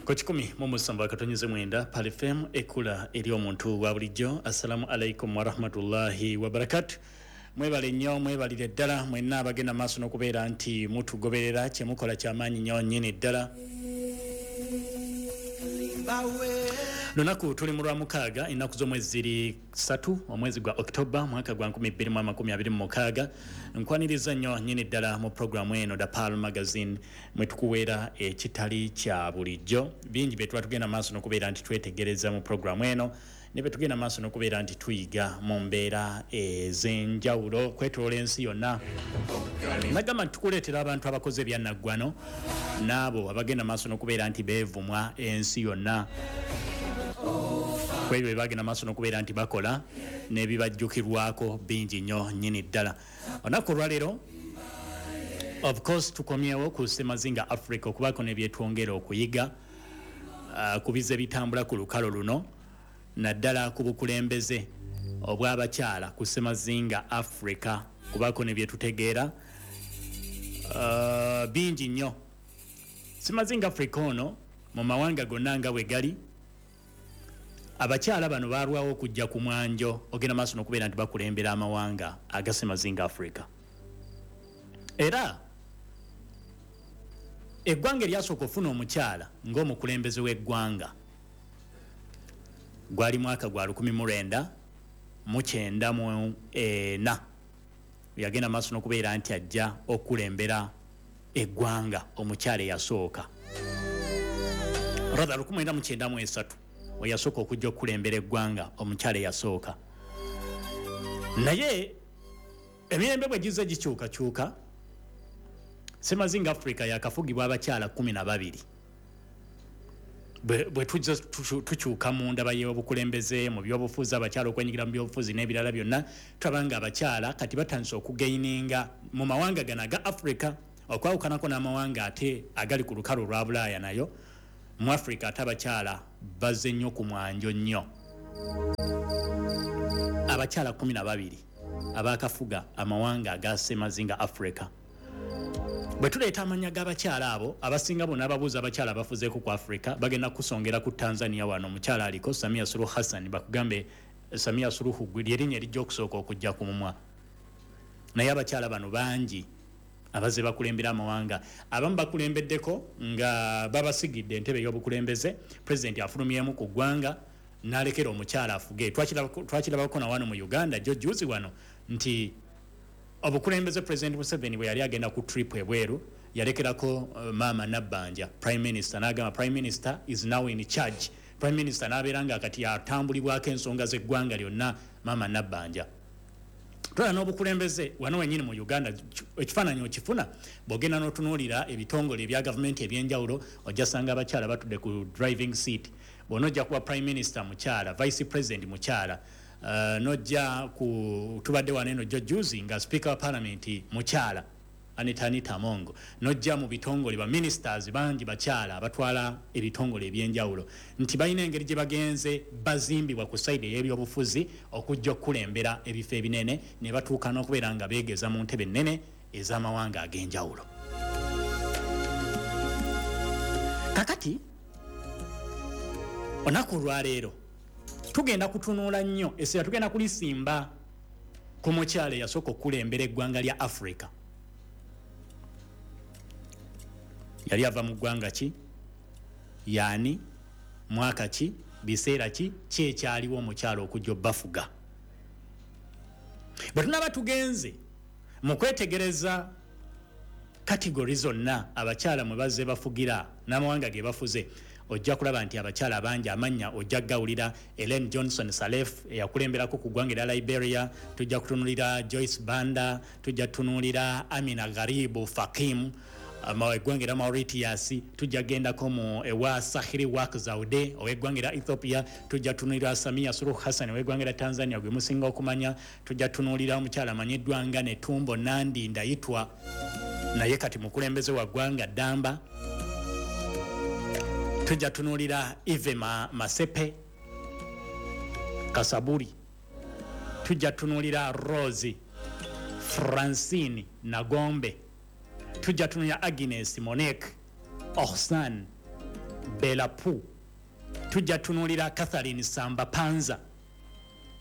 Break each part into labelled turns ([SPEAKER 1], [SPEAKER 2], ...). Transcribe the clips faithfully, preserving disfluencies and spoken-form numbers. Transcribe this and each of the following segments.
[SPEAKER 1] Ku kikumi mu musanvu akatonyeze mwenda Pearl F M ekula eri omuntu wa bulijjo. Assalamu alaikum warahmatullahi wabarakatuh. Mwebale nnyo, mwebalire ddala mwenna abagenda maaso n'okubeera nti mutugoberera, kyemukola kyamaanyi nnyo nnyini ddala. Lunaku tuli mu lwa mukaaga, ennaku z'omwezi ziri ssatu, omwezi gwa October mwaka gwa nkumi bbiri mu amakumi abiri mu mukaaga. Nkwaniriza nnyo nnyini ddala mu programu eno The Pearl Magazine mwe tukuweera ekitali kya bulijjo. Bingi bye tuba tugenda maaso n'okubeera nti twetegereza mu programu eno, ne bye tugenda maaso n'okubeera nti tuyiga mu mbeera ez'enjawulo kwetoloola ensi yonna. Nagamba nti tukuleetera abantu abakoze ebyannaggwano n'abo abagenda maaso n'okubeera nti beevumwa ensi yonna kwebyo bye bagenda maaso n'okubeera nti bakola n'ebibajjukirwako bingi nnyo nnyini ddala. Olunaku olwaleero of course tukomyewo ku Ssemazinga Africa okubaako ne byetwongera okuyiga uh, ku bize bitambula ku lukalo luno, naddala ku bukulembeze obw'abakyala ku Ssemazinga Africa, kubaako ne byetutegeera uh, bingi nnyo. Ssemazinga Africa ono mu mawanga gonna nga bwe gali, abakyala bano balwawo okujja ku mwanjo ogenda maaso n'okubeera nti bakulembera amawanga aga Ssemazinga Africa. Era eggwanga eryasooka okufuna omukyala ng'omukulembeze w'eggwanga gwali mwaka gwa lukumi mu lwenda mu kyenda mu ena, yagenda maaso n'okubeera nti ajja okulembera eggwanga omukyala eyasooka, rather lukumi mwenda mu kyenda mu esatu oyasooka okujja okulembera eggwanga omukyala eyasooka. Naye emirembe bwe gizze gikyukakyuka, Ssemazinga Africa yakafugibwa abakyala kkumi na babiri. Bwe tujja tukyuka mu ndaba y'obukulembeze mu byobufuzi, abakyala okwenyigira mu byobufuzi n'ebirala byonna, tulaba nga abakyala kati batandise okugaininga mu mawanga gano aga Africa, okwawukanako n'amawanga ate agali ku lukalu olwa Bulaaya. Nayo mu Africa ate abakyala bazze nnyo ku mwanjo nnyo. Abakyala kkumi na babiri abaakafuga amawanga aga Ssemazinga Africa. Bwe tuleeta amannya g'abakyala abo, abasinga bonna ababuuza abakyala abafuzeeko ku Africa bagenda kusongera ku Tanzania. Wano omukyala aliko Samia Suluhu Hassan, bakugambe Samia Suluhu lyerinnya erijja okusooka okujja ku mumwa. Naye abakyala bano bangi abazze bakulembera amawanga. Abamu bakulembeddeko nga babasigidde entebe ey'obukulembeze, pulezidenti afulumyemu ku ggwanga n'alekera omukyala afuge. Twakirabako na wano mu Uganda jjo juzi wano nti obukulembeze President Museveni bwe yali agenda ku trip ebweru yalekerako uh, Maama Nabbanja Prime Minister, n'agamba Prime Minister is now in charge. Prime Minister n'abeera nga kati atambulibwako ensonga z'eggwanga lyonna Maama Nabbanja. Twala n'obukulembeze wano wennyini mu Uganda, ekifaananyi okifuna bw'ogenda n'otunuulira ebitongole ebya gavumenti ebyenjawulo, ojja sanga abakyala batudde ku driving seat. Bw'onojja kuba Prime Minister mukyala, Vice President mukyala, Uh, nojja ku tubadde wano eno juzi nga Speaker wa Parliament mukyala Anita Anita Amongo, nojja mu bitongole ba ministers bangi bakyala abatwala ebitongole ebyenjawulo, nti balina engeri gye bagenze bazimbibwa ku side ey'ebyobufuzi okujja okukulembera ebifo ebinene ne batuuka n'okubeera nga beegeza mu ntebe ennene ez'amawanga ag'enjawulo. Kakati olunaku olwaleero tugenda kutunuula nnyo essira, tugenda kulisimba ku mukyala eyasooka okukulembera eggwanga lya Africa. Yali ava mu ggwanga ki, yaani, mwaka ki, biseera ki, ki ekyaliwo omukyala okujja obbafuga. Bwe tunaaba tugenze mu kwetegereza kategori zonna abakyala mwe bazze bafugira n'amawanga ge bafuze, ojja kulaba nti abakyala bangi amannya ojja gawulira. Ellen Johnson Sirleaf eyakulemberako ku ggwanga erya Liberia, tujja kutunuulira Joyce Banda, tujja kutunuulira Amina Gharibu Fakim eggwanga erya Mauritius, tujja gendako mu ewa Sahiri Work Zaude ow'eggwanga erya Ethiopia, tujja tunuulira Samia Suluhu Hassan ow'eggwanga erya Tanzania gwe musinga okumanya, tujja tunuulira omukyala amanyiddwa nga Netumbo Nandi Ndaitwah, naye kati mukulembeze wa ggwanga Ddamba, tujja tunuulira Eve Ma, Masepe Kasaburi, tujja tunuulira Rose Francine Nagombe, tujja tunuulira Agnes Monique Ohsan, Belapu, tujja tunuulira Catherine Samba Panza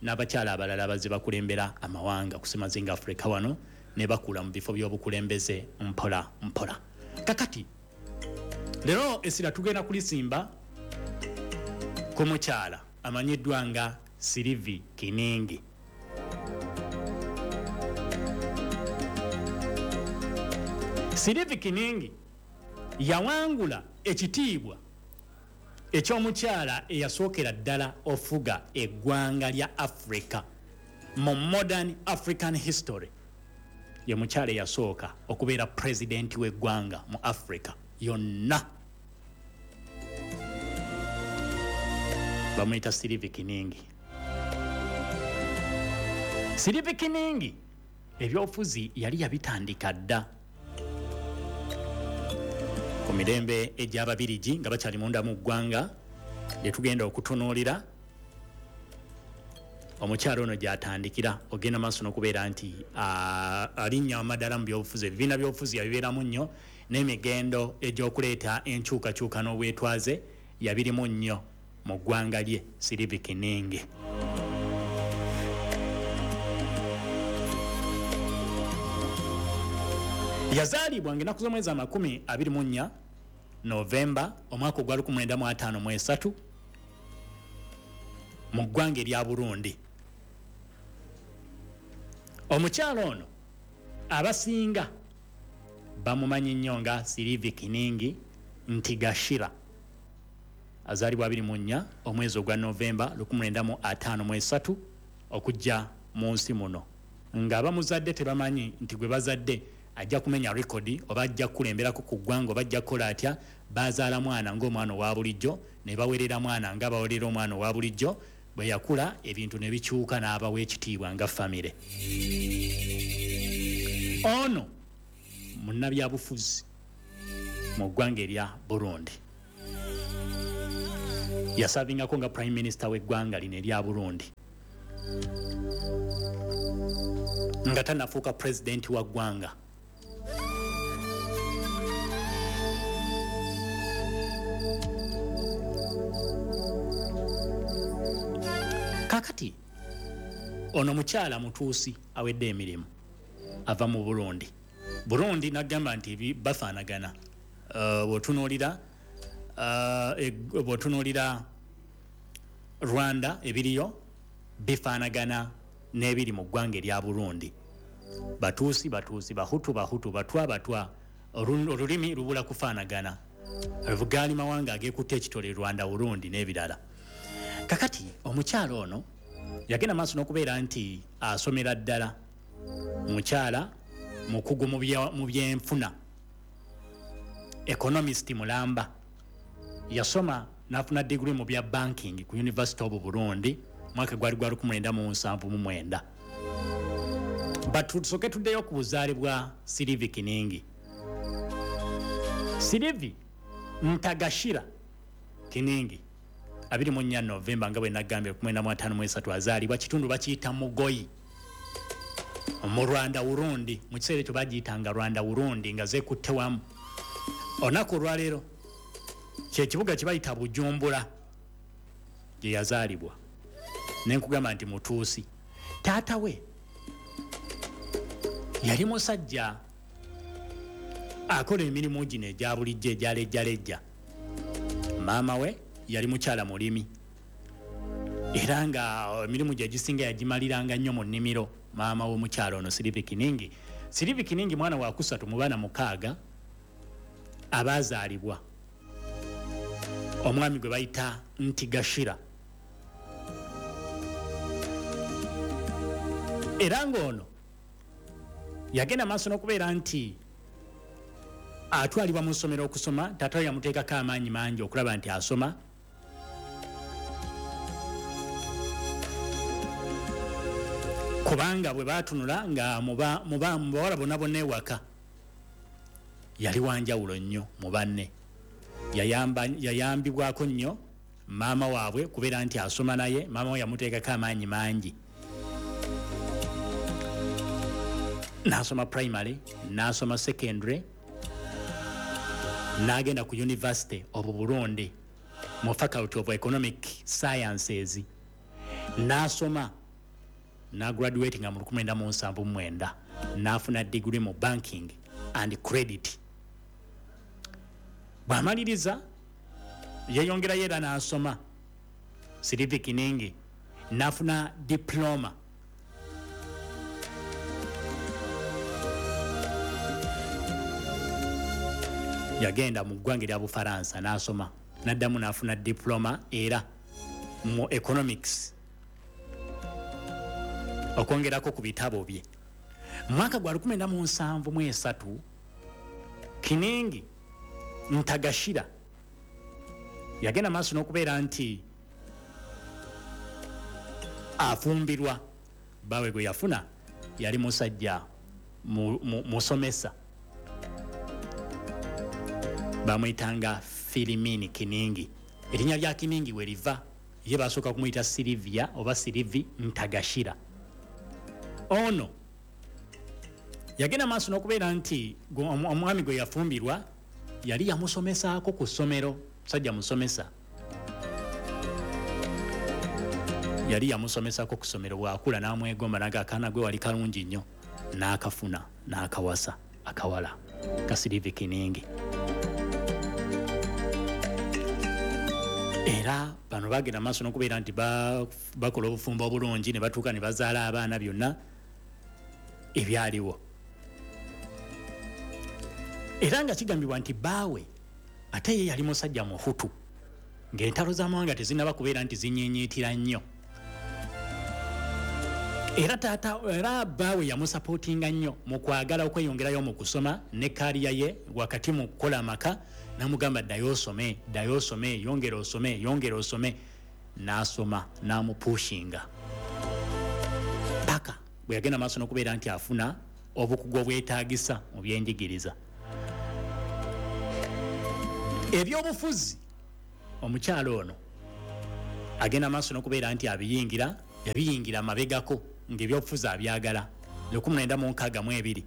[SPEAKER 1] n'abakyala abalala abazze bakulembera amawanga ku ssemazinga Africa wano ne bakula mu bifo by'obukulembeze mpola mpola. Kakati leero essira tugenda kulisimba ku mukyala amanyiddwa nga Sylvie Kiningi. Sylvie Kiningi yawangula ekitiibwa ekyomukyala eyasookera ddala ofuga eggwanga lya Africa mu modern African history. Ye mukyala eyasooka okubeera pulezidenti w'eggwanga mu Africa yonna. Bamuyita Sylvie Kiningi. Sylvie Kiningi ebyobufuzi yali yabitandika dda ku mirembe egy'Ababirigi nga bakyali munda mu ggwanga, lye tugenda okutunuulira omukyala ono gy'atandikira ogenda maaso n'okubeera nti alinnya amadala mu byobufuzi. Ebibiina by'obufuzi yabibeeramu nnyo, n'emigendo egy'okuleeta enkyukakyuka n'obwetwaze yabirimu nnyo mu ggwanga lye Sylvie Kiningi. Yazaalibwa ng'ennaku z'omwezi amakumi abiri mu nnya Novemba omwaka ogwa lukumi mwenda mu ataano mu esatu mu ggwanga erya Burundi. Omukyala ono abasinga bamumanyi nnyo nga Sylvie Kiningi Ntigashira. Azaalibwa abiri mu nnya omwezi ogwa Novemba lukumi mwenda mu ataano mu esatu okujja mu nsi muno, nga abamuzadde tebamanyi nti gwe bazadde ajja kumenya rekodi oba ajja kukulemberako ku ggwanga oba ajja kukola atya. Bazaala mwana ng'omwana owa bulijjo ne bawerera mwana nga bawerera omwana owa bulijjo. Bwe yakula ebintu ne bikyuka n'abawa ekitiibwa nga famire. Ono munnabyabufuzi mu ggwanga erya Burundi. Yasavingako nga prime minister w'eggwanga lino erya Burundi nga tannafuuka pulezidenti wa ggwanga. Kakati ono mukyala mutuusi awedde emirimu, ava mu Burundi. Burundi nagamba nti bafaanagana. Bw'otunuulira uh, bw'otunuulira Rwanda ebiriyo bifaanagana n'ebiri mu ggwanga erya Burundi. Batuusi batuusi, Bahutu Bahutu, Batwa Batwa, olulimi lubula kufaanagana. Gaali mawanga ageekutte ekitole Rwanda, Burundi n'ebirala. Kakati omukyala ono yagenda maaso n'okubeera nti asomera ddala. Mukyala mukugu mu byenfuna, economist mulamba. Yasoma n'afuna degree mu bya banking ku University of Burundi mwaka gwali gwa lukumi mwenda mu nsanvu mu mwenda. But tusooke tuddeyo ku buzaale bwa Sylvie Kiningi. Sylvie Ntagashira Kiningi abiri mu nnya Novemba nga bwe nagambye lukumi mwenda mu ataano mu esatu azaalibwa kitundu bakiyita Mugoyi mu Rwanda Burundi. Mu kiseera ekyo bagiyitanga Rwanda Burundi nga zeekutte wamu. Olunaku olwaleero kyekibuga kye bayita Bujumbura gye yazaalibwa. Ne nkugamba nti mutuusi. Taata we yali musajja akola emirimu gino egya bulijjo egya lejjalejja. Maama we yali mukyala mulimi, era nga emirimu gye egisinga yagimaliranga nnyo mu nnimiro. Maama w'omukyala ono Sylvie Kiningi. Sylvie Kiningi mwana wa kusatu mu baana mukaaga abazaalibwa omwami gwe bayita Ntigashira. Era ng'ono yagenda maaso n'okubeera nti atwalibwa mu ssomero okusoma. Taata we yamuteekako amaanyi mangi okulaba nti asoma. Kubanga bwe baatunula nga mu bawala bonna bonna ewaka yali wanjawulo nnyo mu banne. Yayambibwako nnyo maama waabwe kubeera nti asoma naye. Maama we yamuteekako amaanyi mangi. N'asoma primary, n'asoma secondary, N'agenda ku University of Burundi mu Faculty of Economic Sciences, n'asoma, n'agraduatinga mu lukumi lwenda mu nsanvu mu mwenda, n'afuna degree mu banking and credit. Bw'amaliriza yeeyongerayo era n'asoma Sylvie Kiningi, n'afuna diploma yagenda mu ggwanga erya Bufaransa n'asoma, n'addamu n'afuna diploma era mu economics, okwongerako ku bitabo bye. Mu mwaka gwa lukumi lwenda mu nsanvu mu esatu, Kiningi Ntagashira yagenda maaso n'okubeera nti afumbirwa. Baawe gwe yafuna yali musajja musomesa, bamuyitanga Filimini Kiningi. Erinnya lya Kiningi we liva, ye basooka kumuyita Silivia oba Silivi Ntagashira. Ono yagenda maaso n'okubeera nti omwami gwe yafumbirwa yali yamusomesaako ku ssomero, musajja musomesa, yali yamusomesaako ku ssomero. Bw'akula n'amwegomba n'aga akaana gwe wali kalungi nnyo, n'akafuna n'akawasa akawala ka Silivi Kiningi. Era bano bagenda maaso n'okubeera nti bakola obufumbo obulungi, ne batuuka ne bazaala abaana, byonna ebyaliwo. Era nga kigambibwa nti bbaawe ate ye yali musajja Muhutu, ng'entalo z'amawanga tezinnaba kubeera nti zinyenyeetira nnyo. Era taata era bbaawe yamusapootinga nnyo mu kwagala okweyongerayo mu kusoma ne kaaliya ye wakati mu kukola amaka, n'amugamba ddayo osome, ddayo osome, yongera osome, yongera osome. N'asoma, n'amupushinga paka bwe yagenda maaso n'okubeera nti afuna obukugu obwetaagisa mu byenjigiriza. Ebyobufuzi omukyalo ono agenda maaso n'okubeera nti abiyingira, yabiyingira mabegako ng'ebyobufuzi abyagala. Lukumi lwenda mu nkaaga mu ebiri